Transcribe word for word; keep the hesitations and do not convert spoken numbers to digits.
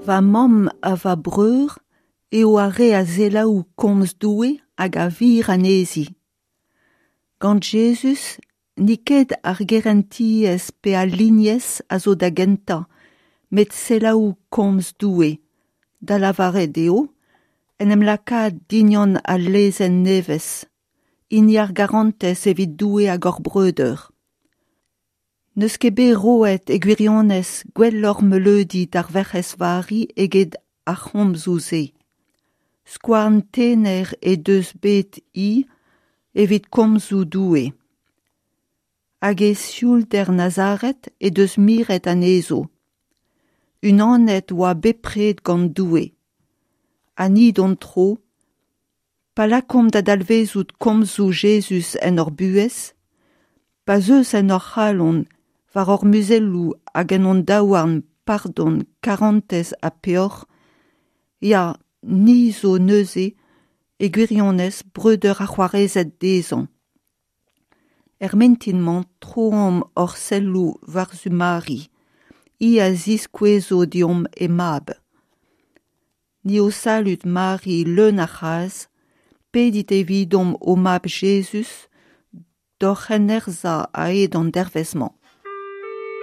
Va mamm ha va breur eo ar re a selaou komz Doue hag a vir anezhi. Gant Jezuz n'eo ket ar gerentiezh pe al lignez a zo da gentañ, met selaou komz Doue, da lavaret eo, en em lakaat dindan al lezenn nevez, hini ar garantez evit Doue hag hor breudeur. N'eus ket bet roet e gwirionez gwelloc'h meuleudi d'ar Werc'hez Vari eget ar c'homzoù-se. Skouarn tener he deus bet hi evit komzoù Doue. Hag e sioulder Nazaret he deus miret anezho. Unanet oa bepred gant Doue. Ha ni d'hon tro, pa lakaomp da dalvezout komzoù Jezuz en hor buhez, pa zeus en hor c'halon, war hor muzelloù hag en hon daouarn pardon, karantez ha peoc'h, ya, ni zo neuze e gwirionez breudeur ha c'hoarezed dezhañ. Er mintin-mañ troomp hor selloù war-zu Mari, hi a ziskouezo deomp he mab. Ni ho salud Mari leun a c'hras, pedit evidomp ho mab Jezuz d'hor c'hennerzhañ a-hed an devezh-mañ.